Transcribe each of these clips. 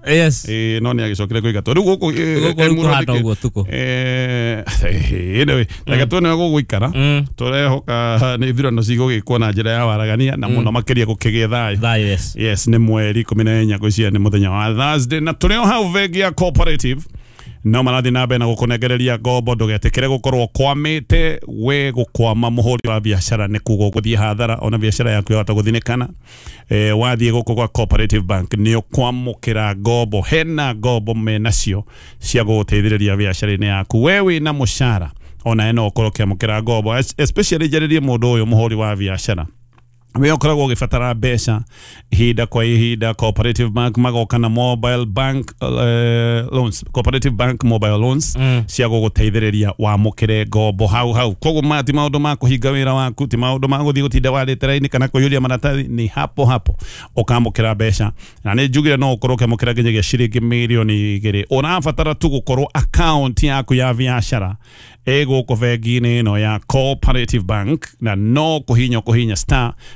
Yes. No nĩ agĩcokire kũingatwo rĩu gũkũ Gũkũ rĩu kũhana ũguo tukũ. Anyway, reke tuone gũgũikara. Tũrehoka nĩ ithurano cigũgĩkwo na njĩra ya waragania na mũno makĩria gũkĩgĩe thayũ. Thayũ, yes. Yes, nĩ mweri 14 ngwĩciria nĩ mũthenya wa Thursday, na tũrĩ o hau bengi ya Cooperative no marathiĩ na mbere na gũkũnengereria ngombo. Ndũgetĩkĩre gũkorwo kwamĩte. We gũkwama mũhũri wa biacara nĩ kuga ũgũthiĩ hathara, ona biacara yaku yahota gũthinĩkana. Wathiĩ gũkũ gwa Cooperative Bank nĩ ũkwamũkĩra ngombo, hena ngombo menacio cia gũgũteithĩrĩria biacara-inĩ yaku. We wĩna mũcara ona no ũkorwo ũkĩamũkĩra ngombo, especially njarĩrie mũndũ ũyũ mũhũri wa biacara we ũkoragwo ũgĩbatara mbeca ihinda kwa ihinda. Cooperative Bank magoka na mobile bank loans, Cooperative Bank mobile loans cia gũgũteithĩrĩria wamũkĩre ngombo hau hau. Koguo maya ti maũndũ ma kũhinga wĩra waku, ti maũndũ ma gũthiĩ gũtinda warĩte raini kana kũiyũria maratathi, nĩ hapo hapo ũkamũkĩra mbeca. Na nĩ njugire no ũkorwo ũkĩamũkĩra nginyagia ciringi 2 mirioni. Ũrabatara tu gũkorwo account yaku ya biacara ĩ gũkũ bengi-inĩ ĩno ya Cooperative Bank, na no kũhinya kũhinya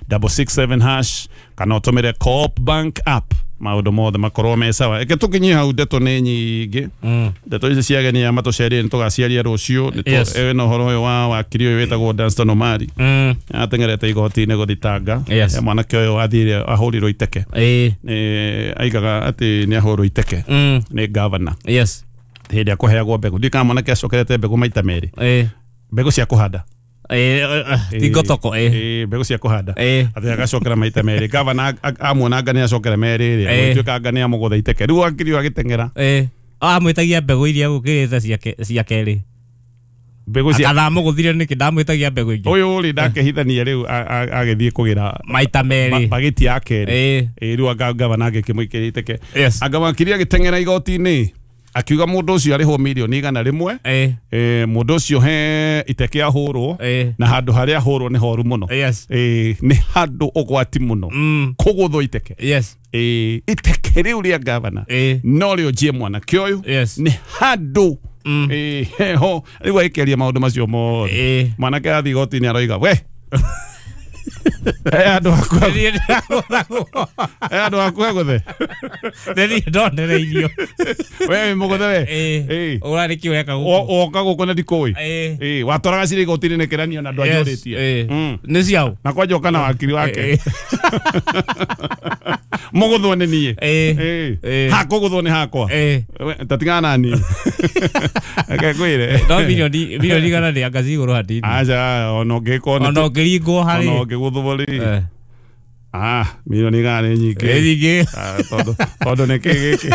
*667# kana ũtũmĩre Co-op Bank app, maũndũ mothe makorwo me sawa. Eke tũkinyie hau, ndeto nĩ nyingĩ. Ndeto ici cia ageni aya matũcereire nĩ tũgaciaria rũciũ. Yes. Ĩna ũhoro ũyũ wa wakiri ũyũ wĩtagwo Danstan Omari ateng'erete igoti-inĩ gũthitanga mwanake ũyũ athire ahũrirwo iteke. Aigaga atĩ nĩ ahũrwo iteke nĩ gavana hĩndĩ ĩrĩa kũheagwo mbegũ. Ndiũ kana mwanake acokerete mbegũ maita merĩ, mbegũ cia kũhanda. Ti ngotoko. Mbegũ cia kũhanda. Atĩ agacokera maita merĩ, gavana amuona anga nĩ acokera merĩ rĩ, gũtuĩka anga nĩ amũgũtha iteke. Rĩu wakiri ũyũ agĩteng'era. Amwĩtagia mbegũ iria gũkĩrĩte cia kerĩ. Mbegũ cia Kana amũgũthire nĩkĩ ndamwĩtagia mbegũ ingĩ? Ũyũ rĩ ndakĩhithania rĩu agĩthiĩ kũgĩra maita merĩ. Bagĩti ya kerĩ. Rĩu anga gavana angĩkĩmũikĩria iteke. Anga wakiri agĩteng'era igoti-inĩ akiuga mũndũ ũcio arĩhwo 100 mirioni. Mũndũ ũcio he iteke ahũrwo na handũ harĩa ahũrwo nĩ horu mũno. Nĩ handũ ũgwati mũno kũgũthwo iteke. Iteke rĩu rĩa gavana no rĩo njie mwanake ũyũ nĩ handũ heho. Rĩu agĩkĩaria maũndũ macio mothe, mwanake athiĩ igoti-inĩ aroiga we he handũ hakuhĩ, Niĩ ndĩragũthagwo. he handũ hakuhĩ gũthe. Nĩ niĩ ndonereirio. We wĩ mũgũthe we. Ũra nĩkĩ ũreka gũkũ? Woka gũkũ na ndikũĩ. Watwaraga cirĩ igoti-inĩ nĩkĩranio na ndwanjũrĩtie. Nĩ ciaũ? Na kwanja ũka na wakiri wake mũgũthwo nĩ niĩ. Hakũgũthwo nĩ hakwa. We, ta tigana na niĩ, reke ngwĩre. No 100 mirioni nĩ anga ci igũrũ hanini. Aca, ona ũngĩkorwo Ona ũngĩringwo ona harĩ ũngĩgũthwo rĩ, 100 mirioni nĩ nyingĩ. Nĩ nyingĩ. Ah, tondũ nĩ kĩ gĩkĩ,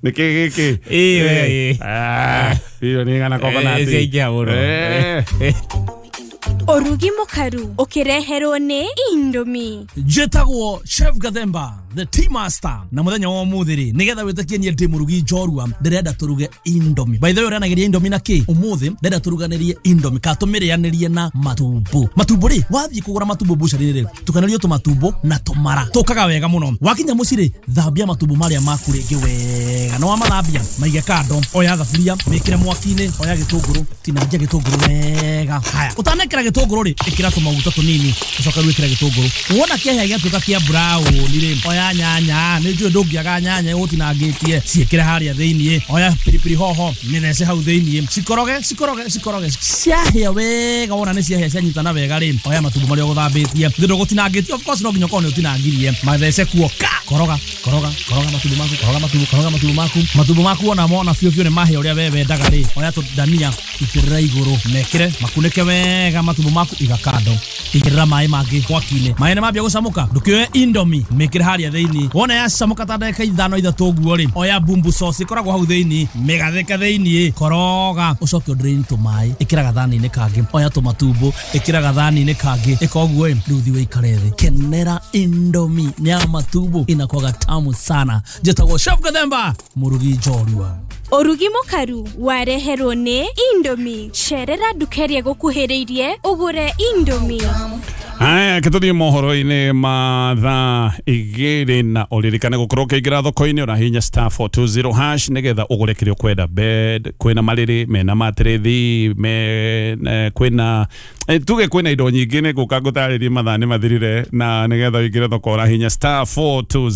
nĩ kĩ gĩkĩ? Ĩĩ, we, ĩĩ. 100 mirioni coconut. Ciaingĩha mũno. Ũrugi mũkaru ũkĩreherwo nĩ Indomie. Njĩtagwo Chef Gathemba, the tea master, na mũthenya wa ũmũthĩ rĩ, nĩgetha wĩtĩkie niĩ ndĩ mũrugi njorua, ndĩrenda tũruge Indomie. By the way, ũrĩanagĩria Indomie na kĩ? Ũmũthĩ ndĩrenda tũruganĩrie Indomie kana tũmĩrĩanĩrie na matumbo. Matumbo rĩ, wathiĩ kũgũra matumbo bucari rĩ, tukanĩrio tũmatumbo na tũmara tũkaga wega mũno. Wakinya mũciĩ rĩ, thambia matumbo marĩa maku rĩngĩ wega, na wamathambia maige kando. Oya thaburia, mĩkĩre mwaki-inĩ, oya gĩtũngũrũ, tinangia gĩtũngũrũ wega. Haya, ũtanekĩra gĩtũngũrũ rĩ, ĩkĩra tũmaguta tũnini, ũcoke rĩu ĩkĩra gĩtũngũrũ. Wona kĩahĩa gĩatuĩka kĩa brown rĩ, oya nyanya, nĩ njũĩ ndũngĩaga nyanya ũtinangĩtie, ciĩkĩre harĩa thĩiniĩ. Oya pilipili hoho, mĩthece hau thĩiniĩ, cikoroge cikoroge cikoroge. Ciahĩa wega, wona nĩ ciahĩa cianyitana wega rĩ, oya matumbo marĩa ũgũthambĩtie, thĩ ndũgũtinangĩtie, of course no nginya ũkorwo nĩ ũtinangirie, mathece kuo ka koroga koroga koroga matumbo maku, koroga matumbo, koroga matumbo maku. Matumbo maku wona mona biũ biũ nĩ mahĩa ũrĩa we wendaga rĩ, oya tũndania itĩrĩra igũrũ, mekĩre makunĩke wega matumbo maku, iga kando. Igĩrĩra maĩ mangĩ mwaki-inĩ. Maĩ nĩ mambia gũcamũka, ndũkĩoe Indomie mĩkĩre harĩa thĩiniĩ. Wona yacamũka ta ndagĩka 5 3 ũguo rĩ, oya bumbu sauce ĩkoragwo hau thĩiniĩ, mĩgathĩke thĩiniĩ, koroga, ũcoke ũdrain tũmaĩ, ĩkĩra gathani-inĩ kangĩ. Oya tũmatumbo, ĩkĩra gathani-inĩ kangĩ, ĩka ũguo ĩ, rĩu thiĩ ũikare thĩ, kenera Indomie ya matumbo, inakwaga tamu sana. Njĩtagwo Chef Gathemba, mũrugi njorua. Ũrugi mũkaru wareherwo nĩ Indomie. Cerera nduka ĩrĩa ĩgũkuhĩrĩirie ũgũre Indomie. Haya, kĩtũthiĩ mohoro-inĩ ma thaa 2, na ũririkane gũkorwo ũkĩingĩra thoko-inĩ ũrahihinya *420# nĩgetha ũgũre kĩrĩa ũkwenda. Bed, kwĩna marĩrĩ mena matĩrĩthi me, kwĩna tuge kwĩna indo nyingĩ, nĩ ngũka ngũtarĩrie mathaa nĩ mathirire, na nĩgetha ũingĩre thoko ũrahihinya *420.